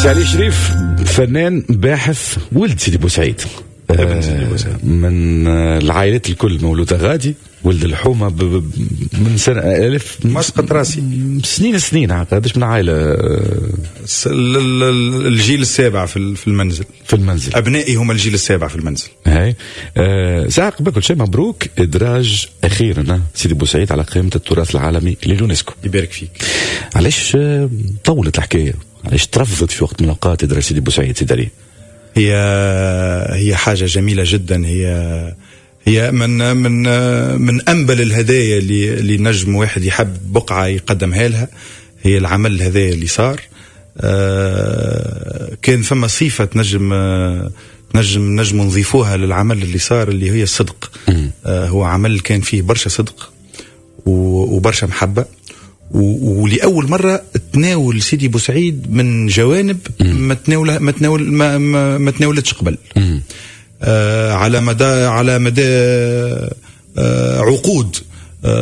سي علي شريف، فنان باحث، ولد سيدي بوسعيد. ابن سيدي بوسعيد. من العائلات الكل مولودة غادي، ولد الحومة من سنة ألف. مسقط راسي. سنين سنين، قداش من عائلة؟ الجيل السابع في المنزل. في المنزل. أبنائي هم الجيل السابع في المنزل. هاي ساعة قبل كل شيء مبروك إدراج أخيرا سيدي بوسعيد على قائمة التراث العالمي لليونسكو. يبارك فيك. علاش طولت الحكاية؟ علاش ترفضت في وقت من الأوقات إدراج سيدي بوسعيد سيدي علي؟ هي حاجة جميلة جدا، هي من أنبل الهدايا اللي نجم واحد يحب بقعة يقدمها لها، هي العمل هذا اللي صار. كان فما صفة نجم نضيفوها للعمل اللي صار، اللي هي الصدق. هو عمل كان فيه برشا صدق وبرشا محبة، ولأول مرة تناول سيدي بوسعيد من جوانب ما تناولتش قبل. على مدى عقود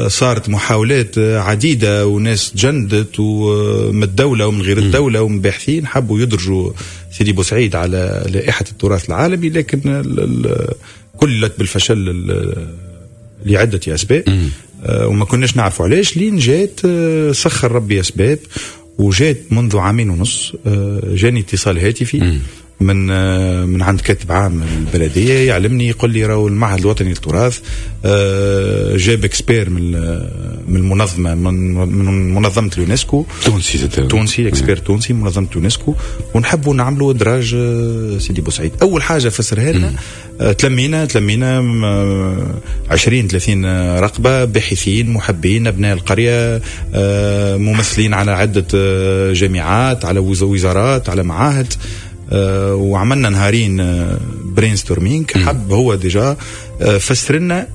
صارت محاولات عديدة وناس تجندت ومن الدولة ومن غير الدولة ومن باحثين حبوا يدرجوا سيدي بوسعيد على لائحة التراث العالمي، لكن كلت بالفشل لعدة أسباب. وما كناش نعرفوا علاش، لين جات سخر ربي أسباب، وجات منذ 2.5 عام جاني اتصال هاتفي من عند كاتب عام البلدية يعلمني، يقول لي راهو المعهد الوطني للتراث جاب expert من المنظمة، من منظمة اليونسكو. تونسي. تونسي، expert تونسي من منظمة اليونسكو، ونحبوا نعملوا ادراج سيدي بوسعيد. اول حاجة فسرها لنا، تلمينا 20-30 رقبة، باحثين محبين ابناء القرية، ممثلين على عدة جامعات، على وزارات، على معاهد، وعملنا نهارين brainstorming. حب هو déjà فسر لنا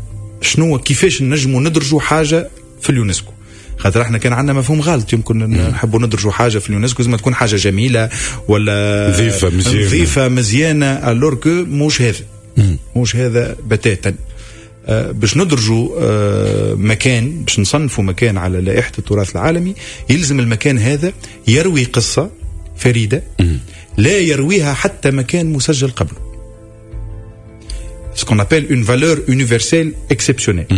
شنو كيفاش نجموا ندرجوا حاجة في اليونسكو، خاطر احنا كان عندنا مفهوم غلط، يمكن نحبوا ندرجوا حاجة في اليونسكو لازم تكون حاجة جميلة ولا نظيفة مزيانه، نظيفة مزيانه، alors que موش هذا، موش هذا بتاتا. باش ندرجوا مكان، باش نصنفوا مكان على لائحة التراث العالمي، يلزم المكان هذا يروي قصة فريدة لا يرويها حتى مكان مسجل قبله، ce qu'on appelle une valeur universelle exceptionnelle.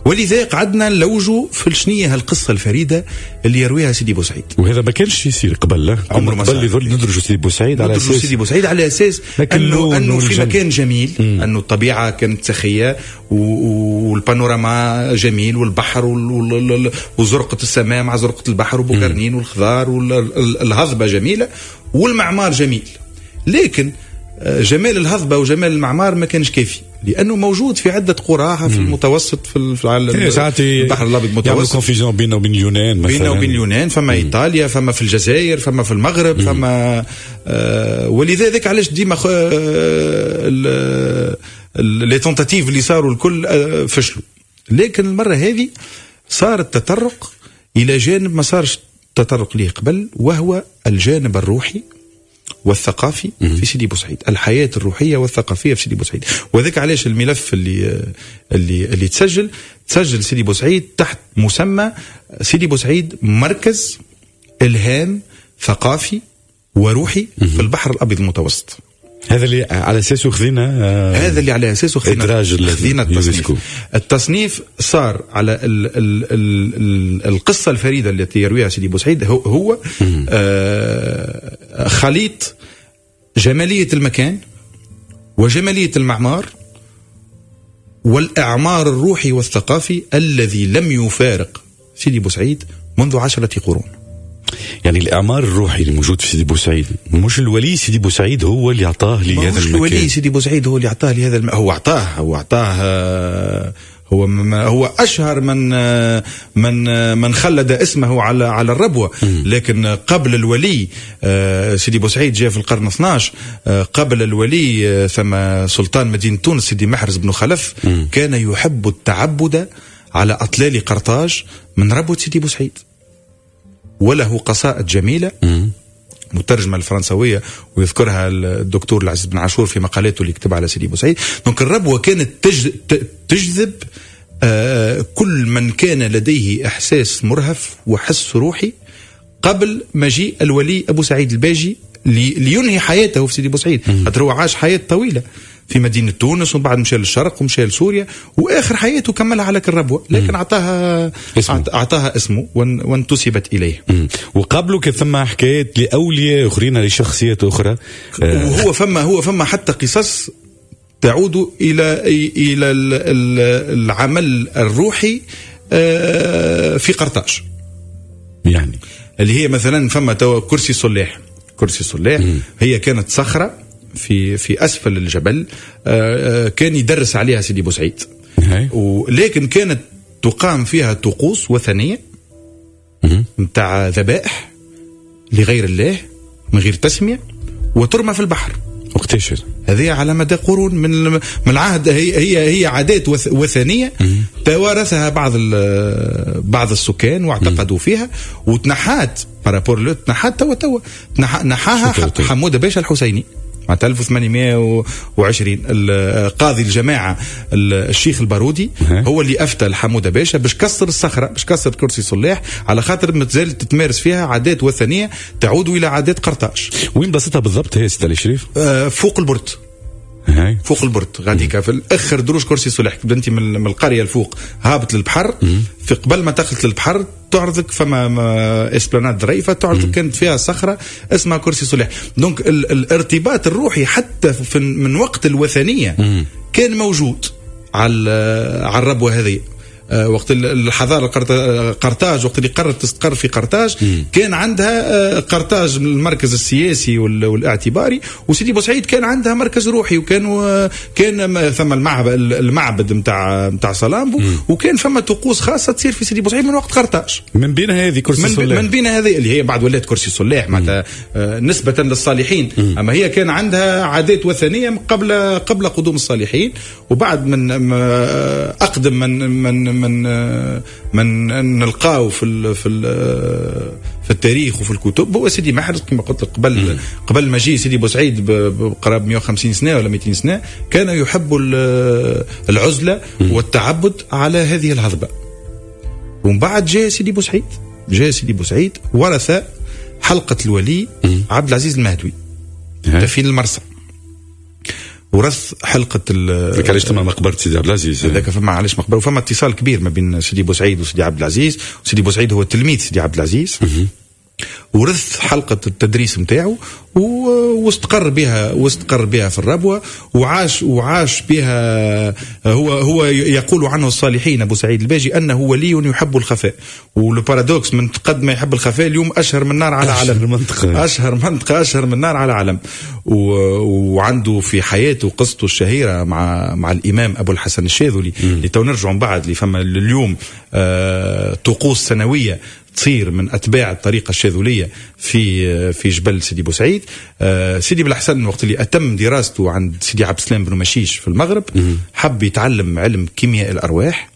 ولذا قعدنا نلوجوا في شنية هالقصة الفريدة اللي يرويها سيدي بوسعيد. وهذا ما كانش يصير قبل، لا عمره ما قبل صار. يظل ندرجوا سيدي بوسعيد على ندرجوا أساس سيدي بوسعيد على أساس لكن اللون أنه في والجن. مكان جميل، أنه الطبيعة كانت سخية والبانوراما جميل والبحر وزرقة السماء مع زرقة البحر وبوكرنين والخضار والهضبة جميلة والمعمار جميل، لكن جمال الهضبة وجمال المعمار ما كانش كافي، لأنه موجود في عدة قرى في المتوسط، في العالم، إيه، ساعات البحر الأبيض المتوسط. يعملوا confusion بينه وبين اليونان مثلاً. بينه وبين اليونان، فما إيطاليا، فما في الجزائر، فما في المغرب، فما ولذا ذاك علاش ديما les tentatives اللي صاروا الكل فشلوا. لكن المرة هذه صار التطرق إلى جانب ما صارش تطرق ليه قبل، وهو الجانب الروحي والثقافي في سيدي بوسعيد، الحياة الروحية والثقافية في سيدي بوسعيد. وذاك علاش الملف اللي تسجل سيدي بوسعيد تحت مسمى سيدي بوسعيد مركز إلهام ثقافي وروحي في البحر الأبيض المتوسط. هذا اللي على أساسه خذينا، هذا اللي على أساسه إدراج خذينا التصنيف. اليونسكو. التصنيف صار على القصة الفريدة التي يرويها سيدي بوسعيد، هو خليط جمالية المكان وجمالية المعمار والإعمار الروحي والثقافي الذي لم يفارق سيدي بوسعيد منذ 10 قرون. يعني الإعمار الروحي اللي موجود في سيدي بوسعيد، مش الولي سيدي بوسعيد هو اللي أعطاه لهذا مش المكان. الولي سيدي بوسعيد هو اللي أعطاه لهذا هو أعطاه، هو أعطاه، هو هو أشهر من خلد اسمه على الربوة. لكن قبل الولي، سيدي بوسعيد جاء في القرن 12، قبل الولي، ثم سلطان مدينة تونس سيدي محرز بن خلف كان يحب التعبد على أطلال قرطاج من ربوة سيدي بوسعيد، وله قصائد جميلة مترجمة الفرنسوية ويذكرها الدكتور العزيز بن عاشور في مقالاته اللي كتبها على سيدي بوسعيد. donc الربوة كانت تجذب كل من كان لديه إحساس مرهف وحس روحي قبل مجيء الولي ابو سعيد الباجي لينهي حياته في سيدي بوسعيد. خاطر هو عاش حياة طويلة في مدينة تونس، ومن بعد مشى للشرق ومشى لسوريا، واخر حياته كملها على الربوه، لكن اعطاها اسمه وانتسبت اليه. وقبله كان ثم حكايات لاولياء اخرين، لشخصيات اخرى. وهو فما حتى قصص تعود الى العمل الروحي في قرطاج، يعني اللي هي مثلا فما توا كرسي صلاح. كرسي صلاح هي كانت صخرة في أسفل الجبل، كان يدرس عليها سيدي بوسعيد، ولكن كانت تقام فيها طقوس وثنية متاع ذبائح لغير الله من غير تسمية، وترمى في البحر. وقتاش هذه؟ على مدى قرون من العهد. هي عادات وثنية توارثها بعض السكان واعتقدوا فيها، وتنحات par rapport لو تنحات توا نحاها حموده باشا الحسيني مع 1820. قاضي الجماعة الشيخ البارودي هو اللي أفتى لحمودة باشا باش كسر الصخرة، باش كسر كرسي صلاح، على خاطر مازالت تتمارس فيها عادات وثنية تعود إلى عادات قرطاج. وين بلاصتها بالضبط هي سيدي الشريف؟ فوق البرد. فوق البرد غاديكا في اخر دروج كرسي صلاح. انت من القرية الفوق هابط للبحر، في قبل ما تخلط للبحر تعرضك فما esplanade ظريفة تعرضك، كانت فيها صخرة اسمها كرسي صلاح. donc الارتباط الروحي حتى من وقت الوثنية كان موجود على الربوه هذه. وقت الحضارة قرطاج، وقت اللي قررت تستقر في قرطاج، كان عندها قرطاج المركز السياسي والاعتباري، وسيدي بوسعيد كان عندها مركز روحي، وكان كان ثم المعبد متاع صلامبو، وكان فما طقوس خاصة تصير في سيدي بوسعيد من وقت قرطاج. من بين هذه كرسي صلاح، من بين هذه اللي هي بعد ولات كرسي صلاح معناتها نسبة للصالحين، أما هي كان عندها عادات وثنية قبل قدوم الصالحين. وبعد من أقدم من من من من نلقاو في في في التاريخ وفي الكتب هو سيدي محرز، كما قلت لك قبل مجيء سيدي بوسعيد بقراب 150 سنة ولا 200 سنة، كان يحب العزلة والتعبد على هذه الهضبه. ومن بعد جاء سيدي بوسعيد، جاء سيدي بوسعيد ورث حلقة الولي عبد العزيز المهدوي دفين المرسى، ورث حلقة ذاك علاش تما مقبرة سيدي عبد العزيز، هذاك فما علاش مقبرة، وفما اتصال كبير ما بين سيدي بوسعيد وسيدي عبد العزيز. وسيدي بوسعيد هو تلميذ سيدي عبد العزيز، ورث حلقة التدريس متاعه واستقر بها، واستقر بها في الربوة، وعاش بها. هو يقول عنه الصالحين أبو سعيد الباجي أنه ولي يحب الخفاء، وال paradoxe من قد ما يحب الخفاء اليوم أشهر من نار على علم، أشهر منطقة، أشهر من نار على علم. وعنده في حياته قصته الشهيرة مع الإمام أبو الحسن الشاذلي، اللي تو نرجع من بعد اللي فما اليوم طقوس سنوية تصير من أتباع الطريقة الشاذلية في جبل سيدي بوسعيد. سيدي بالحسن وقت اللي أتم دراسته عند سيدي عبد السلام بن مشيش في المغرب، حب يتعلم علم كيمياء الأرواح.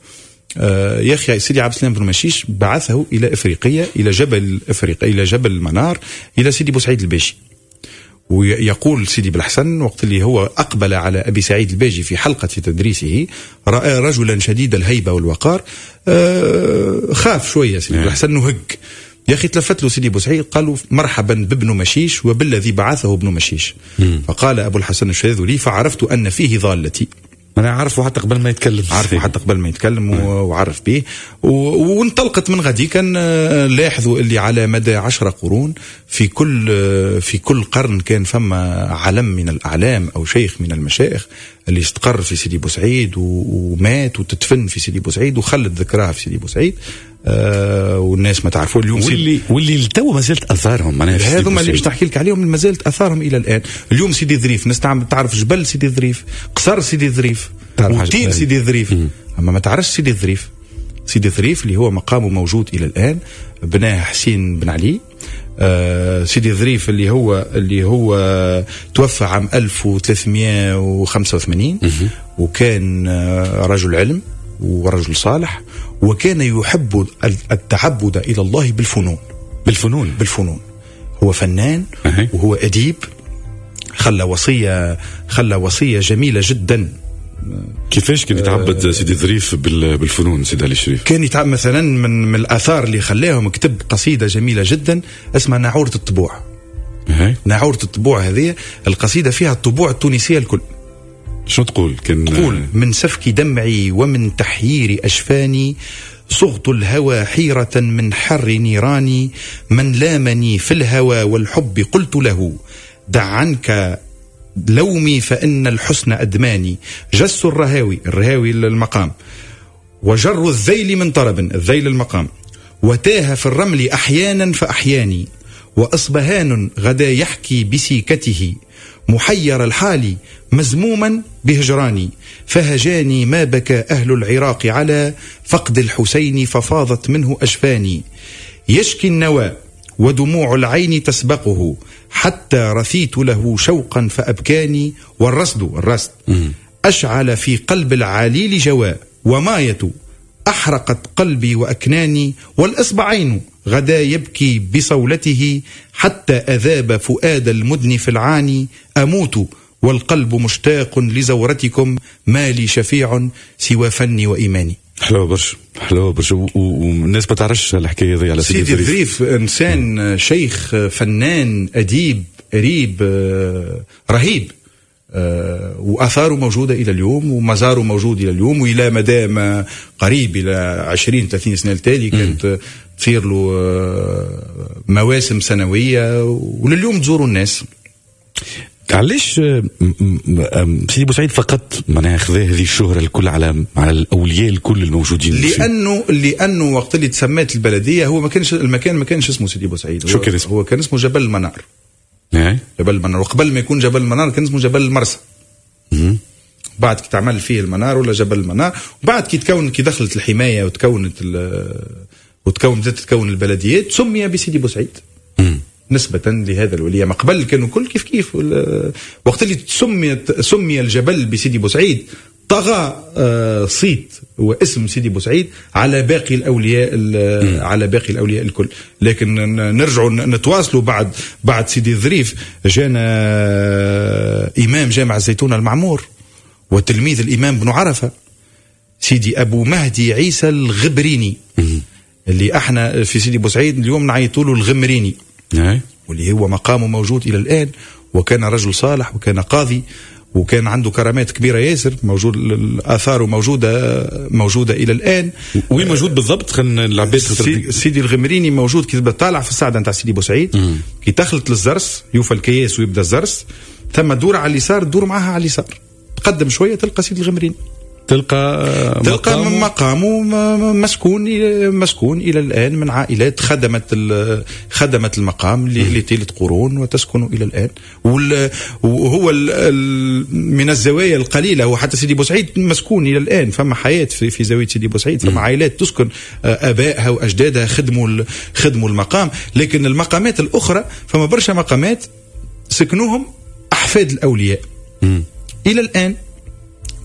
يا أخي سيدي عبد السلام بن مشيش بعثه إلى إفريقيا، إلى جبل إفريقيا، إلى جبل المنار، إلى سيدي بوسعيد الباجي. ويقول سيدي بالحسن وقت اللي هو أقبل على أبي سعيد الباجي في حلقة تدريسه، رأى رجلا شديد الهيبة والوقار، خاف شوية سيدي بالحسن وهج. يا أخي تلفت له سيدي بوسعيد قالوا مرحبا بابن مشيش وبالذي بعثه ابن مشيش. فقال أبو الحسن الشاذلي فعرفت أن فيه ضالتي. أنا عارفه حتى قبل ما يتكلم، عارفه حتى قبل ما يتكلم وعرف به. وانطلقت من غادي. كان لاحظوا اللي على مدى 10 قرون في كل قرن كان فما علم من الأعلام أو شيخ من المشايخ اللي استقر في سيدي بوسعيد ومات وتدفن في سيدي بوسعيد وخلد ذكرها في سيدي بوسعيد. والناس ما تعرفوا اليوم واللي التو ما زالت اثارهم، معناها هذوما اللي باش نحكي لك عليهم ما زالت اثارهم الى الان. اليوم سيدي ظريف الناس تعرف جبل سيدي ظريف، قصر سيدي ظريف، وتين سيدي ظريف، اما ما تعرفش سيدي ظريف. سيدي ظريف اللي هو مقامه موجود الى الان، بناه حسين بن علي. سيدي ظريف اللي هو توفى عام 1385، وكان رجل علم ورجل صالح، وكان يحب التعبد إلى الله بالفنون. بالفنون. هو فنان وهو أديب. خلى وصية جميلة جدا كيفاش كان يتعبد سيدي ظريف بالفنون سيدي علي الشريف؟ كان يتعبد مثلا من الاثار اللي خلاهم، كتب قصيدة جميلة جدا اسمها ناعوره الطبوع. ناعوره الطبوع هذه القصيدة فيها الطبوع التونسية الكل. شو تقول؟ كان تقول: من سفك دمعي ومن تحيير أشفاني، صغت الهوى حيرة من حر نيراني، من لامني في الهوى والحب قلت له دع عنك لومي فإن الحسن أدماني، جس الرهاوي، الرهاوي المقام، وجر الذيل من طرب، الذيل المقام، وتاه في الرمل أحيانا فأحياني، وأصبهان غدا يحكي بسيكته، محير الحال مزموما بهجراني، فهجاني ما بكى أهل العراق على فقد الحسين ففاضت منه أجفاني، يشكي النوى ودموع العين تسبقه، حتى رثيت له شوقا فأبكاني، والرصد الرصد أشعل في قلب العليل جواء، وماية أحرقت قلبي وأكناني، والإصبعين غدا يبكي بصولته، حتى أذاب فؤاد المدن في العاني، أموت والقلب مشتاق لزورتكم، ما لي شفيع سوى فني وإيماني. حلوة برشا، حلوة برشا، والناس ما تعرفش الحكاية هذه على سيدي الظريف. إنسان شيخ، فنان، أديب، قريب، رهيب، وآثاره موجودة إلى اليوم، ومزاره موجود إلى اليوم، وإلى مدى ما قريب إلى 20-30 سنة التالي كانت تصير له مواسم سنوية، ولليوم تزوروا الناس. علاش سيدي بوسعيد فقط معناها خذا هذه الشهرة الكل على الأولياء الكل الموجودين؟ لأنه وقت اللي تسمات البلدية هو ما كانش المكان، ما كانش اسمه سيدي بوسعيد، شو كان اسمه؟ هو كان اسمه جبل المنار. جبل المنار، وقبل ما يكون جبل المنار كان اسمه جبل المرسى. بعد كي تعمل فيه المنار ولا جبل المنار، وبعد كي تكون، كي دخلت الحماية وتكونت بدأت تتكون البلديات، سمي بسيدي بوسعيد نسبة لهذا الولي. ما قبل كانوا كل كيف كيف. وقت اللي سمي الجبل بسيدي بوسعيد طغى صيت واسم سيدي بوسعيد على باقي الأولياء، على باقي الأولياء الكل. لكن نرجعوا نتواصلوا بعد سيدي الظريف جانا إمام جامع الزيتونة المعمور وتلميذ الإمام بن عرفة سيدي أبو مهدي عيسى الغبريني، اللي احنا في سيدي بوسعيد اليوم نعيطوا له الغمريني، واللي هو مقامه موجود إلى الآن، وكان رجل صالح وكان قاضي وكان عنده كرامات كبيرة ياسر، موجود الآثار موجودة إلى الآن. وين موجود بالضبط؟ خلينا العباد سيدي الغمريني موجود كي تبدا طالع في الصعدة نتاع سيدي بوسعيد، كي تخلط للزرس يوفى الكياس ويبدا الزرس، ثم دور على اليسار، دور معها على اليسار، تقدم شوية تلقى سيدي الغمريني، تلقى مقامه مسكون إلى الآن من عائلات خدمت المقام لطيلة قرون وتسكن إلى الآن. وهو من الزوايا القليلة، وحتى سيدي بوسعيد مسكون إلى الآن، فما حياة في زاوية سيدي بوسعيد، فما عائلات تسكن آبائها وأجدادها خدموا المقام. لكن المقامات الأخرى فما برشا مقامات سكنوهم أحفاد الأولياء إلى الآن.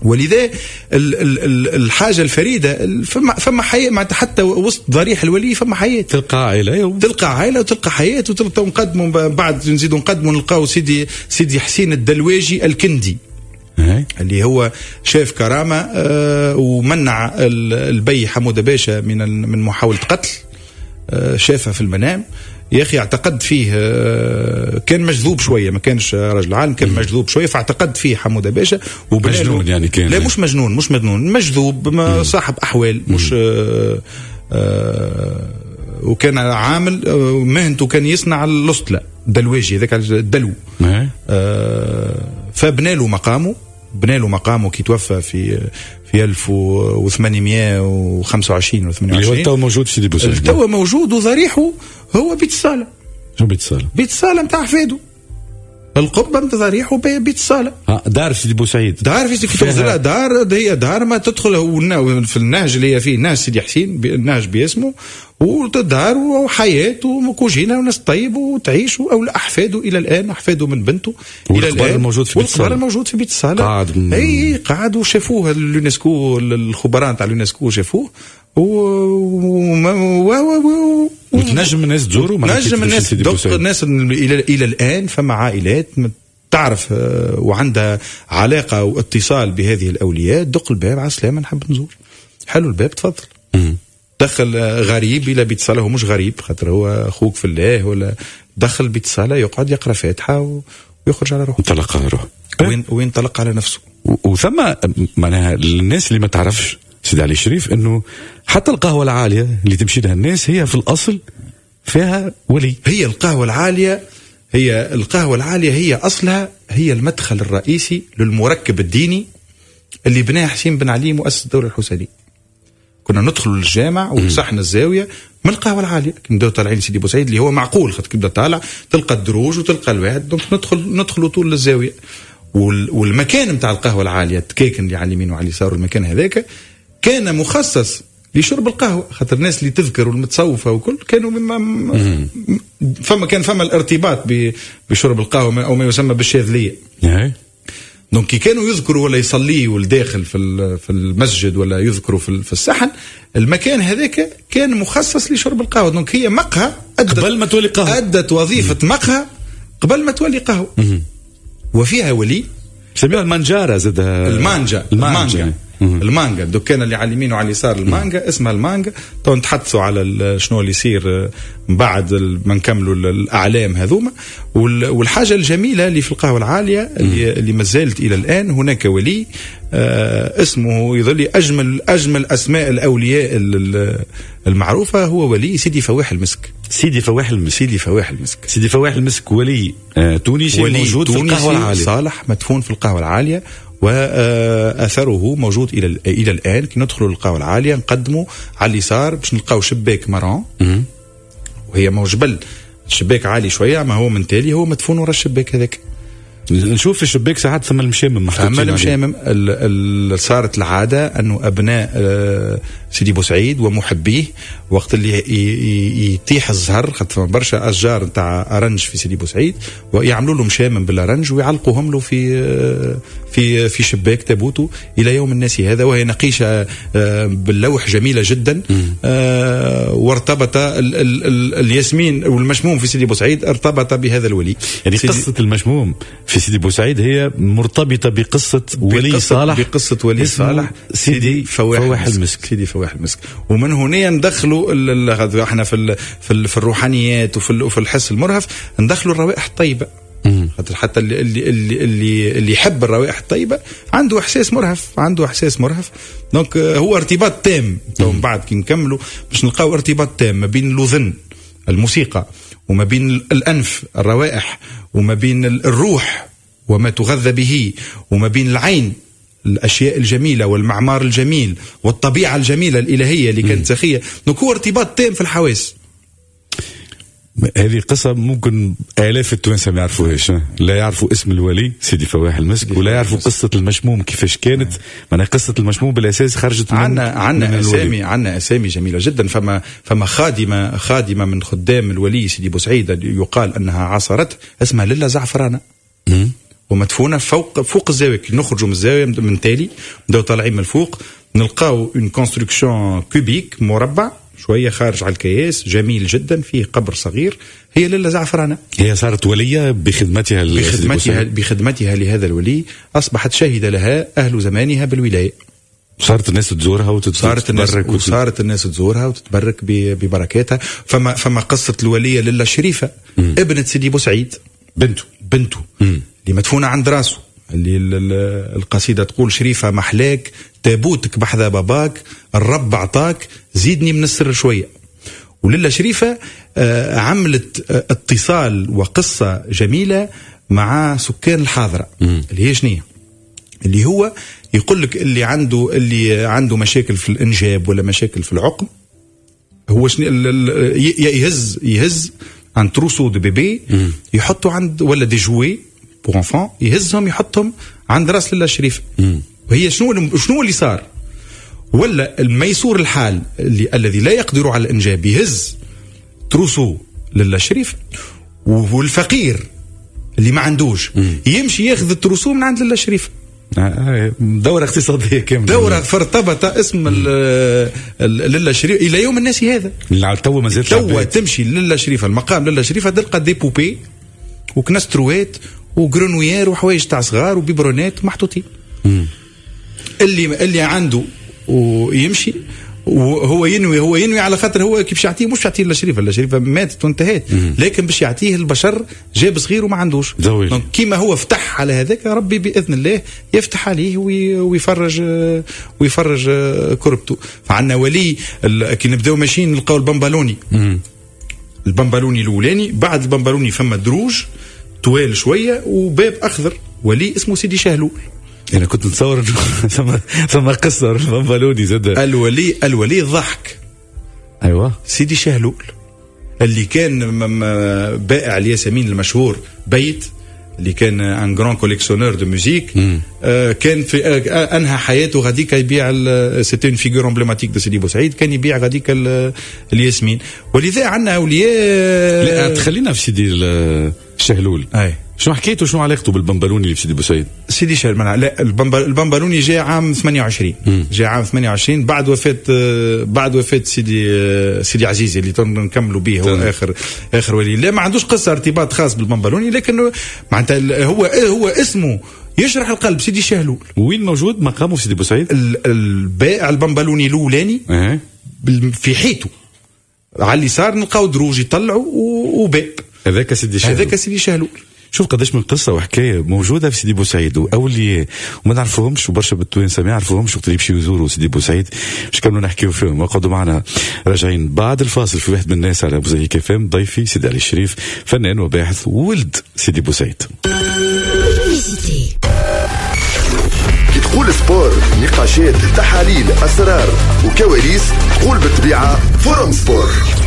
ولذا الحاجة الفريدة فما حياة، حتى وسط ضريح الولي فما حياة، تلقى عائلة، تلقى عائلة وتلقى حياة، وتلقى نقدموا بعد نزيدوا نقدموا نلقاو سيدي حسين الدلواجي الكندي اللي هو شاف كرامة ومنع البي حمودة باشا من محاولة قتل، شافها في المنام يا أخي، اعتقد فيه، كان مجذوب شوية، ما كانش رجل عالم، كان مجذوب شوية، فاعتقد فيه حمودة باشا. مجنون يعني كان؟ لا مش مجنون، مش مجنون، مجذوب، صاحب أحوال، مش وكان عامل مهنته كان يصنع الأسطلة، دلواجي ذاك الدلو. فبنى له مقامه، بنى له مقامه كي توفى في 1825 و 28، اللي هو تو موجود في سيدي بوسعيد، تو موجود، وضريحه هو بيت الصالة. شو بيت الصالة؟ بيت الصالة نتاع حفاده، القبة نتاع ضريحه بيت الصالة. دار في سيدي بوسعيد، دار في سيدي بوسعيد، دار هي دار ما تدخل في النهج اللي هي فيه نهج سيدي حسين، النهج باسمه، ودار وحياة وكوجينة وناس طيب وتعيش، أو أحفاده إلى الآن، أحفاده من بنته إلى الآن. الموجود في بيت الصالة، والقبر الموجود في بيت الصالة قاعد، أي قاعد، وشافوه اليونسكو، الخبراء نتاع اليونسكو شافوه، وتنجم الناس تزوروا، نجم الناس الناس إلى الآن فما عائلات تعرف وعندها علاقة واتصال بهذه الاولياء، دق الباب، على السلامة نحب نزور، حلو الباب تفضل. دخل غريب الى بيت صلاة، هو مش غريب خاطر هو اخوك في الله، ولا دخل بيت صلاة يقعد يقرا فاتحة ويخرج على روحه، انطلق على روحه، وين طلق على نفسه. وثم معناها الناس اللي ما تعرفش سيدي علي الشريف انه حتى القهوة العالية اللي تمشي لها الناس هي في الاصل فيها ولي. هي القهوة العالية، هي اصلها هي المدخل الرئيسي للمركب الديني اللي بناه حسين بن علي مؤسس الدولة الحسينية. كنا ندخل للجامع وصحن الزاوية من القهوة العالية، كنا طالعين سيدي بوسعيد اللي هو معقول، خاطر كي تبدا طالع تلقى الدروج وتلقى الواحد، donc ندخلوا طول للزاويه. والمكان نتاع القهوة العالية التكاكن اللي على اليمين وعلى اليسار والمكان هذاك كان مخصص لشرب القهوة، خاطر الناس اللي تذكر والمتصوفه وكل كانوا مما فما كان فما الارتباط بشرب القهوة او ما يسمى بالشاذليه. donc كي كانوا يذكروا ولا يصليوا لداخل في المسجد ولا يذكروا في الصحن، المكان هذاك كان مخصص لشرب القهوة. donc هي مقهى قبل ما تولي قهوة، ادت وظيفة مقهى قبل ما تولي قهوة. وفيها ولي سميوها المانجارة زاد، المانجا الدكان اللي على اليمين وعلى اليسار المانجا، اسمها المانجا. تو نتحدثوا على شنو اللي يصير من بعد ما نكملوا الاعلام هذوما. والحاجة الجميلة اللي في القهوة العالية اللي ما زالت الى الان، هناك ولي اسمه يظل اجمل اسماء الاولياء المعروفة، هو ولي سيدي فواح المسك. سيدي فواح المسك، سيدي فواح المسك ولي تونسي، ولي موجود في القهوة العالية، صالح مدفون في القهوة العالية، واثره موجود الى الان. كي ندخلوا للقهوة العالية نقدموا على اليسار باش نلقاو شباك marron، وهي مو جبل، الشباك عالي شوية، ما هو من تالي هو مدفون ورا الشباك هذاك. نشوف في الشباك ساعات ثم المشامم محطوطين، ثم المشامم. صارت العادة انه ابناء سيدي بوسعيد ومحبيه وقت اللي يطيح الزهر، خاطر برشا اشجار نتاع ارنج في سيدي بوسعيد، ويعملوا له مشامم بالارنج ويعلقوهم له في في في شباك تابوته الى يوم الناس هذا. وهي نقيشه باللوح جميلة جدا. وارتبط الياسمين والمشموم في سيدي بوسعيد ارتبط بهذا الولي. يعني قصة المشموم في سيدي بوسعيد هي مرتبطة بقصة ولي صالح، بقصة ولي صالح سيدي فواح المسك، سيدي فواح المسك. ومن هنا ندخلوا احنا في الروحانيات وفي الحس المرهف، ندخلوا الروائح الطيبة. خاطر حتى اللي اللي اللي اللي يحب الروائح الطيبة عنده احساس مرهف، عنده احساس مرهف. donc هو ارتباط تام. تو من بعد كي نكملوا باش نلقاو ارتباط تام ما بين الاذن الموسيقى، وما بين الأنف الروائح، وما بين الروح وما تغذى به، وما بين العين الأشياء الجميلة والمعمار الجميل والطبيعة الجميلة الإلهية اللي كانت سخية. donc هو ارتباط تام في الحواس. هذه قصة ممكن آلاف التوانسة ما يعرفوهاش، لا يعرفوا اسم الولي سيدي فواح المسك، ولا يعرفوا قصة المشموم كيفاش كانت. معناها قصة المشموم بالأساس خرجت من عنا أسامي، عنا أسامي جميلة جدا. فما خادمة من خدام الولي سيدي بوسعيد يقال أنها عاصرت، اسمها للا زعفرانة، ومدفونة فوق الزاوية. كي نخرجوا من الزاوية من تالي نبداو طالعين من الفوق نلقاو une construction cubique مربع شوية خارج على الكياس، جميل جدا، فيه قبر صغير. هي للا زعفرانة، هي صارت ولية بخدمتها بخدمتها لهذا الولي، أصبحت شهد لها أهل زمانها بالولاية. صارت الناس تزورها وتتبرك، وصارت الناس تزورها وتتبرك ببركاتها. فما قصة الولية للا شريفة، ابنة سيدي بوسعيد، بنته اللي مدفونة عند راسه، اللي القصيدة تقول شريفة محلاك تابوتك بحذا باباك، الرب عطاك زيدني من السر شوية. وللا شريفة عملت اتصال وقصة جميلة مع سكان الحاضرة، اللي هي شنية؟ اللي هو يقول لك اللي عنده مشاكل في الإنجاب ولا مشاكل في العقم، هو شنو يهز un trousseau de bébé يحطوا عند، ولا des jouets pour enfants يهزهم يحطهم عند راس للا شريفة. وهي شنو اللي صار؟ ولا الميسور الحال الذي لا يقدر على الإنجاب يهز trousseau للا شريف، والفقير اللي ما عندوش يمشي ياخذ ال trousseau من عند للا شريف. دورة اقتصادية كاملة، دورة. فارتبط اسم للا شريف إلى يوم الناس هذا. تو ما زالت تو تمشي للا شريفة، المقام للا شريفة، تلقى des poupées وكنستروات و grenouillère وحوايج تاع صغار و biberon ات محطوطين. اللي عنده ويمشي، وهو ينوي، هو ينوي على خاطر هو كيف باش يعطيه، مش يعطيه للشريفه، الشريفة ماتت وانتهت، لكن باش يعطيه البشر جاب صغير وما عندوش. donc كيما هو فتح على هذاك، ربي باذن الله يفتح عليه ويفرج كربته. فعندنا ولي، كي نبداو ماشيين نلقاو البمبالوني. البمبالوني الاولاني، بعد البمبالوني فما دروج طوال شوية وباب اخضر، ولي اسمه سيدي شهلول. انا كنت نتصور ثم قصة البمبالوني زاد. الولي ضحك. ايوه، سيدي شهلول اللي كان بائع الياسمين المشهور بيت، اللي كان un grand collectionneur de musique، كان في انهى حياته غاديك يبيع، c'était une figure emblématique de سيدي بوسعيد، كان يبيع غاديك الياسمين. ولذا عندنا اولياء. لا، تخلينا في سيدي الشهلول. اي. شنو حكايته، شنو علاقته بالبمبلوني اللي في سيدي بوسعيد؟ سيدي شهلول، لا، البمبلوني جاء عام 28، جاء عام 28 بعد وفاة سيدي عزيزي اللي نكملوا به، هو اخر ولي. لا، ما عندوش قصة ارتباط خاص بالبمبلوني، لكن معناتها هو اسمه يشرح القلب، سيدي شهلول. وين موجود مقامه في سيدي بوسعيد؟ البائع البمبلوني الاولاني في حيته على اليسار نلقاو دروج يطلعوا وباب. هذاك سيدي شهلول. هذاك سيدي شهلول. شوف قداش من قصة وحكاية موجودة في سيدي بوسعيد واولياء وما نعرفوهمش، وبرشا بالتوانسه ما يعرفوهمش وقت اللي يمشيو يزوروا سيدي بوسعيد. باش كملوا نحكيو فيهم وقعدوا معنا، راجعين بعد الفاصل في واحد من الناس على موزاييك اف ام. ضيفي سيدي علي الشريف، فنان وباحث وولد سيدي بوسعيد. كي تقول sport، نقاشات، تحاليل، اسرار وكواليس، تقول بالطبيعة forum sport.